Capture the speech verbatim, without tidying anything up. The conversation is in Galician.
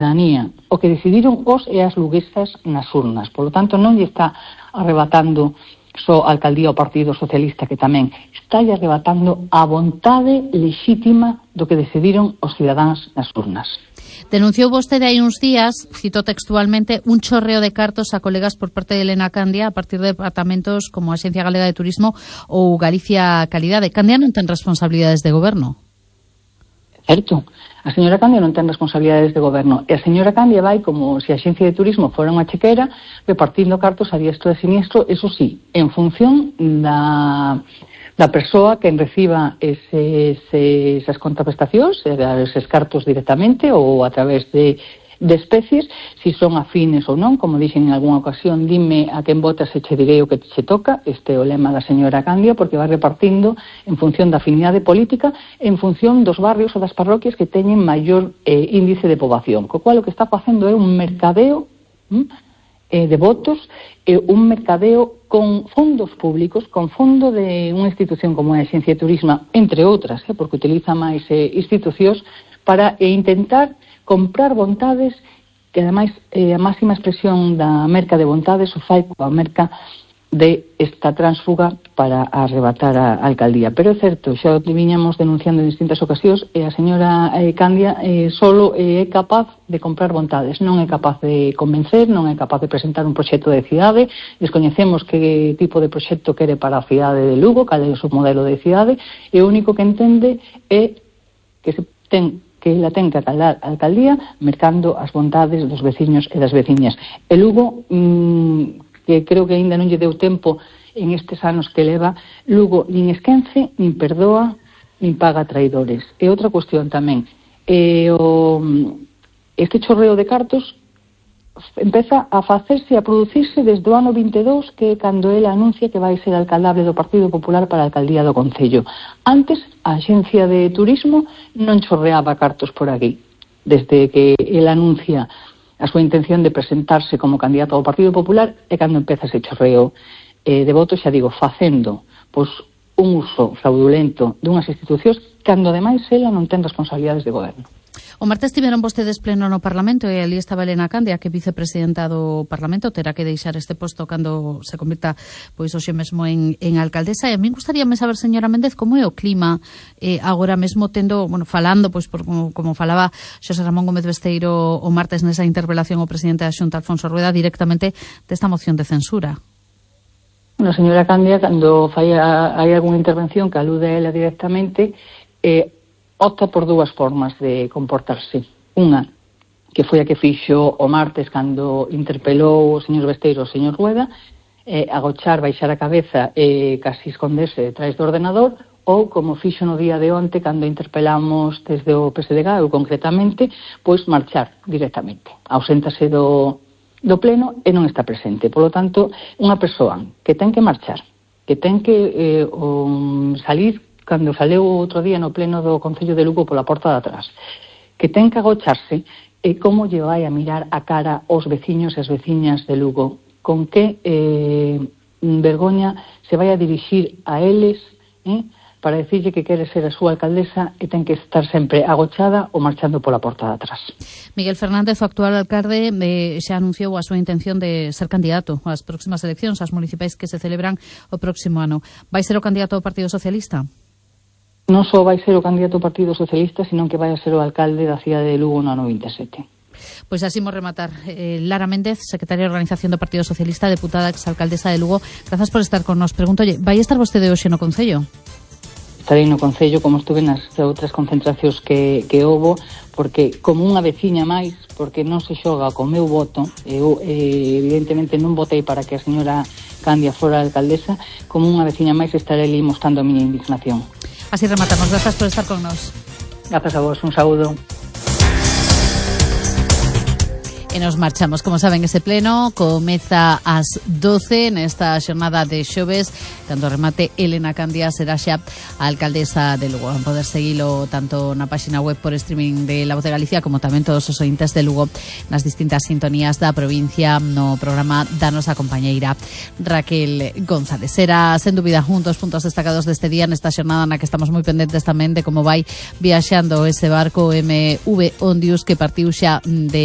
ciudadanía. O que decidiron os e as luguesas nas urnas. Por lo tanto, non lle está arrebatando só a alcaldía ao Partido Socialista, que tamén está arrebatando a vontade lexítima do que decidiron os cidadáns nas urnas. Denunciou vostede hai uns días, cito textualmente, un chorreo de cartos a colegas por parte de Elena Candia a partir de departamentos como a Axencia Galega de Turismo ou Galicia Calidade. Candia non ten responsabilidades de goberno. Certo. A señora Candia non ten responsabilidades de goberno. E a señora Candia vai como se a Axencia de Turismo fora unha chequera repartindo cartos a diestro e siniestro, eso sí, en función da... da persoa que reciba ese, ese, esas contraprestacións, eses cartos directamente ou a través de, de especies, si son afines ou non, como dixen en algunha ocasión, dime a quen votas e che direi o que che toca, este é o lema da señora Candia, porque vai repartindo en función da afinidade política, en función dos barrios ou das parroquias que teñen maior eh, índice de poboación, co cual o que está facendo é un mercadeo hm, eh, de votos, eh, un mercadeo con fondos públicos, con fondo de unha institución como a Axencia de Turismo, entre outras, eh, porque utiliza máis eh, institucións para eh, intentar comprar vontades, que ademais eh, a máxima expresión da merca de vontades o fai coa merca de esta tránsfuga para arrebatar a alcaldía. Pero é certo, xa o viñamos denunciando en distintas ocasións, e a señora eh, Candia eh, solo eh, é capaz de comprar vontades, non é capaz de convencer, non é capaz de presentar un proxecto de cidade, descoñecemos que tipo de proxecto quere para a cidade de Lugo, cal é o seu modelo de cidade, e o único que entende é que se ten que ela ten que acaldar a alcaldía mercando as vontades dos veciños e das veciñas. E Lugo, mmm, que creo que aínda non lle deu tempo en estes anos que leva, Lugo nin esquence, nin perdoa, nin paga traidores. E outra cuestión tamén, e o, este chorreo de cartos empeza a facerse, a producirse desde o ano vinte e dous, que é cando ele anuncia que vai ser alcaldable do Partido Popular para a alcaldía do Concello. Antes, a Axencia de Turismo non chorreaba cartos por aquí. Desde que ele anuncia a súa intención de presentarse como candidato ao Partido Popular é cando empeza ese chorreo eh, de votos, xa digo, facendo pois, un uso fraudulento dunhas institucións cando ademais ela non ten responsabilidades de goberno. O martes tiveron vostedes pleno no Parlamento e ali estaba Elena Candia, que é vicepresidenta do Parlamento, terá que deixar este posto cando se convirta pois hoxe mesmo en, en alcaldesa. E a mí gustaríame saber, señora Méndez, como é o clima eh, agora mesmo tendo, bueno, falando, pois por, como, como falaba Xosé Ramón Gómez Besteiro o martes nesa interpelación ao presidente da Xunta, Alfonso Rueda, directamente desta moción de censura. Bueno, señora Candia, cando fai a, hai algunha intervención que alude a ela directamente, eh, opta por dúas formas de comportarse. Unha, que foi a que fixo o martes cando interpelou o señor Besteiro o señor Rueda, eh, agochar, baixar a cabeza e casi esconderse detrás do ordenador, ou como fixo no día de onte cando interpelamos desde o P S D G, ou concretamente, pois marchar directamente. Auséntase do, do pleno e non está presente. Por lo tanto, unha persoa que ten que marchar, que ten que eh, um, salir cando saleu outro día no pleno do Concello de Lugo pola porta de atrás, que ten que agocharse, e como lle vai a mirar a cara aos veciños e as veciñas de Lugo, con que eh, vergoña se vai a dirixir a eles eh, para decirlle que quere ser a súa alcaldesa e ten que estar sempre agochada ou marchando pola porta de atrás. Miguel Fernández, o actual alcalde, eh, xa anunciou a súa intención de ser candidato ás próximas eleccións, ás municipais que se celebran o próximo ano. Vai ser o candidato ao Partido Socialista? Non só vai ser o candidato ao Partido Socialista, senón que vai a ser o alcalde da cidade de Lugo no ano vinte e sete. Pois así mo rematar. Eh, Lara Méndez, secretaria de Organización do Partido Socialista, deputada exalcaldesa de Lugo, grazas por estar con nos. Pregúntolle, vai estar vostede hoxe no Concello? Estarei no Concello, como estuve nas outras concentracións que, que houbo, porque como unha veciña máis, porque non se xoga co meu voto, eu eh, evidentemente non votei para que a señora Candia fora a alcaldesa, como unha veciña máis estarei ali mostrando a miña indignación. Así rematamos. Grazas por estar con nos. Grazas a vos. Un saúdo. E nos marchamos, como saben, ese pleno comeza ás doce nesta xornada de xoves, cando remate Elena Candia será xa a alcaldesa de Lugo. Van poder seguilo tanto na páxina web por streaming de La Voz de Galicia como tamén todos os ointes de Lugo nas distintas sintonías da provincia no programa da nosa compañeira Raquel González. Será, sen dúbida, un dos puntos destacados deste día nesta xornada na que estamos moi pendentes tamén de como vai viaxando ese barco M V Ondius que partiu xa de